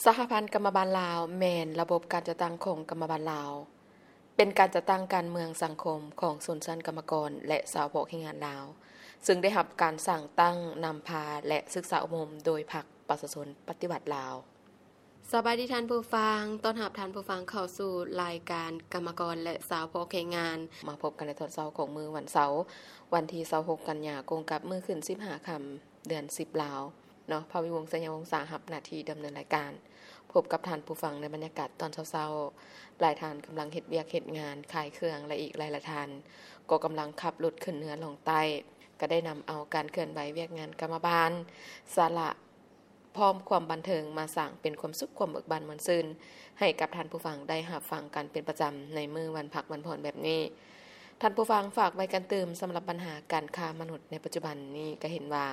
ສະຫະພັນກຳມະບານລາວ ແມ່ນລະບົບການຈັດຕັ້ງຂອງກຳມະບານລາວ, ເປັນການຈັດຕັ້ງການເມືອງສັງຄົມຂອງຊົນຊັ້ນກຳມະກອນ ແລະ ຊາວເພາະແຮງງານລາວ, ເຊິ່ງໄດ້ຮັບການສ້າງຕັ້ງ, ນຳພາ ແລະ ສຶກສາອົບຮົມໂດຍພັກປະຊາຊົນປະຕິວັດລາວ. ສະບາຍດີທ່ານຜູ້ຟັງ, ຕ້ອນຮັບທ່ານຜູ້ຟັງເຂົ້າສູ່ລາຍການກຳມະກອນ ແລະ ຊາວເພາະແຮງງານ. ມາພົບກັນໃນຕອນເຊົ້າຂອງມື້ວັນເສົາ, ວັນທີຊາວຫົກ ກັນຍາ, ກົງກັບມື້ຂຶ້ນສິບຫ້າຄ່ຳ ເດືອນສິບລາວເນາະ. ພະວິວົງ ໄຊຍະວົງສາ ຮັບໜ້າທີ່ດຳເນີນລາຍການ. ພົບກັບທ່ານຜູ້ຟັງໃນບັນຍາກາດຕອນເຊົ້າໆ. ຫຼາຍທ່ານກຳລັງເຮັດວຽກເຮັດງານ, ຂາຍເຄື່ອງ ແລະ ອີກຫຼາຍໆທ່ານກໍກຳລັງຂັບລົດຂຶ້ນເໜືອລ່ອງໃຕ້, ກໍໄດ້ນຳເອົາການເຄື່ອນໄຫວວຽກງານກຳມະບານ, ສາລະ ພ້ອມຄວາມບັນເທີງມາສ້າງເປັນຄວາມສຸກ, ຄວາມເບີກບານມ່ວນຊື່ນໃຫ້ກັບທ່ານຜູ້ຟັງໄດ້ຮັບຟັງກັນເປັນປະຈຳໃນມື້ວັນພັກວັນຜ່ອນແບບນີ້. ທ່ານຜູ້ຟັງ, ຝາກໄວ້ກັນຕື່ມ, ສຳລັບບັນຫາການຄ້າມະນຸດໃນປັດຈຸບັນນີ້ ກໍເຫັນວ່າ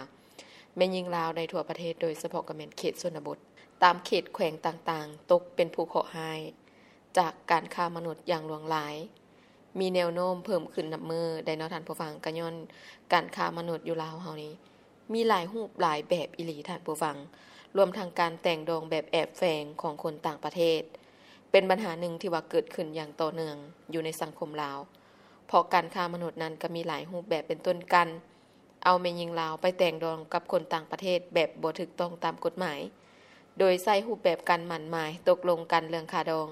ແມ່ຍິງລາວໃນທົ່ວປະເທດ, ໂດຍສະເພາະກໍແມ່ນເຂດຊົນນະບົດ, ຕາມເຂດແຂວງຕ່າງໆ, ຕົກເປັນຜູ້ເຄາະຮ້າຍຈາກການຄ້າມະນຸດຢ່າງຫຼວງຫຼາຍ. ມີແນວໂນ້ມເພີ່ມຂຶ້ນນັບມື້ໄດ໋ເນາະທ່ານຜູ້ຟັງ, ກໍຍ້ອນການຄ້າມະນຸດຢູ່ລາວເຮົານີ້ມີຫຼາຍຮູບຫຼາຍແບບອີ່ຫຼີທ່ານຜູ້ຟັງ, ລວມທັງການແຕ່ງດອງແບບແອບແຝງຂອງຄົນຕ່າງປະເທດ ເປັນບັນຫາໜຶ່ງທີ່ວ່າເກີດຂຶ້ນຢ່າງຕໍ່ເນື່ອງຢູ່ໃນສັງຄົມລາວ, ເພາະການຄ້າມະນຸດນັ້ນກໍມີຫຼາຍຮູບແບບ ເປັນຕົ້ນການ ເອົາແມ່ຍິງລາວໄປແຕ່ງດອງກັບຄົນຕ່າງປະເທດແບບບໍ່ຖືກຕ້ອງຕາມກົດໝາຍ, ໂດຍໃຊ້ຮູບແບບການໝັ້ນໝາຍຕົກລົງກັນເລື່ອງຄ່າດອງ,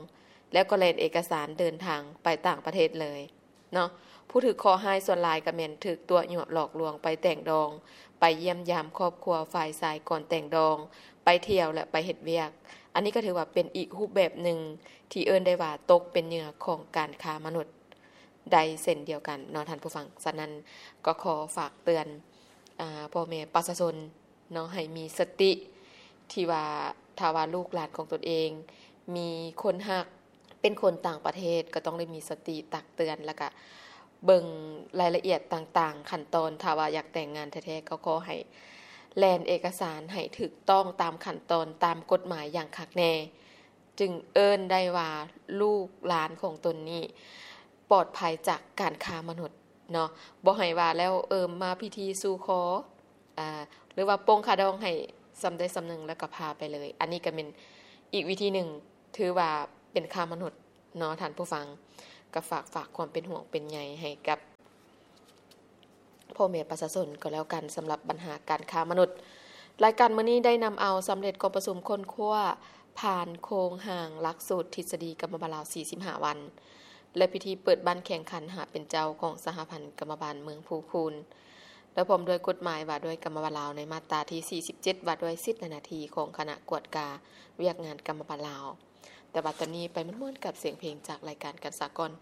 ແລ້ວກໍແລ່ນເອກະສານເດີນທາງໄປຕ່າງປະເທດເລີຍເນາະ. ຜູ້ຖືກເຄາະຮ້າຍສ່ວນຫຼາຍກໍແມ່ນຖືກຕົວະຍົວະຫຼອກລວງໄປແຕ່ງດອງ, ໄປຢ້ຽມຢາມຄອບຄົວຝ່າຍຊາຍກ່ອນແຕ່ງດອງ, ໄປທ່ຽວ ແລະ ໄປເຮັດວຽກ. ອັນນີ້ກໍຖືວ່າເປັນອີກຮູບແບບໜຶ່ງທີ່ເອີ້ນໄດ້ວ່າຕົກເປັນເຫຍື່ອຂອງການຄ້າມະນຸດ ໄດ້ເຊັ່ນດຽວກັນເນາະທ່ານຜູ້ຟັງ. ສະນັ້ນກໍຂໍຝາກເຕືອນ ອາ ພໍ່ແມ່ປະຊາຊົນເນາະ ໃຫ້ມີສະຕິ ທີ່ວ່າຖ້າວ່າລູກຫຼານຂອງຕົນເອງມີຄົນຮັກເປັນຄົນຕ່າງປະເທດ ກໍຕ້ອງໄດ້ມີສະຕິຕັກເຕືອນ ແລ້ວກະເບິ່ງລາຍລະອຽດຕ່າງໆ ຂັ້ນຕອນ. ຖ້າວ່າຢາກແຕ່ງງານແທ້ໆ ກໍຂໍໃຫ້ແລ່ນເອກະສານໃຫ້ຖືກຕ້ອງຕາມຂັ້ນຕອນ ຕາມກົດໝາຍຢ່າງຄັກແນ່. ຈຶ່ງເອີ້ນໄດ້ວ່າລູກຫຼານຂອງຕົນນີ້ປອດໄພຈາກການຄ້າມະນຸດເນາະ. ບໍ່ໃຫ້ວ່າແລ້ວ ເອີ ມາພິທີສູ່ຂໍ ອາ ຫຼືວ່າປົງຄ່າດອງໃຫ້ສ່ຳໃດສ່ຳໜຶ່ງ ແລ້ວກໍພາໄປເລີຍ. ອັນນີ້ກໍເປັນອີກວິທີໜຶ່ງ ຖືວ່າເປັນຄ້າມະນຸດເນາະທ່ານຜູ້ຟັງ. ກໍຝາກ ຝາກຄວາມເປັນຫ່ວງເປັນໃຍໃຫ້ກັບ ພໍ່ແມ່ປະຊາຊົນກໍແລ້ວກັນ ສຳລັບບັນຫາການຄ້າມະນຸດ. ລາຍການມື້ນີ້ໄດ້ນຳເອົາສຳເລັດກອງປະຊຸມຄົ້ນຄວ້າຜ່ານໂຄງຮ່າງຫຼັກສູດທິດສະດີກຳມະບານລາວສີ່ສິບຫ້າວັນ ແລະ ພິທີເປີດບັ້ນແຂ່ງຂັນຫາເປັນເຈົ້າຂອງສະຫະພັນກຳມະບານເມືອງພູຄູນ ແລະ ພ້ອມດ້ວຍກົດໝາຍວ່າດ້ວຍກຳມະບານລາວໃນມາດຕາທີສີ່ສິບເຈັດ ວ່າດ້ວຍສິດ ແລະ ໜ້າທີ່ຂອງຄະນະກວດກາວຽກງານກຳມະບານລາວ. ແຕ່ວ່າຕອນນີ້ໄປມ່ວນໆກັບສຽງເພງຈາກລາຍການກັນສາກ່ອນ.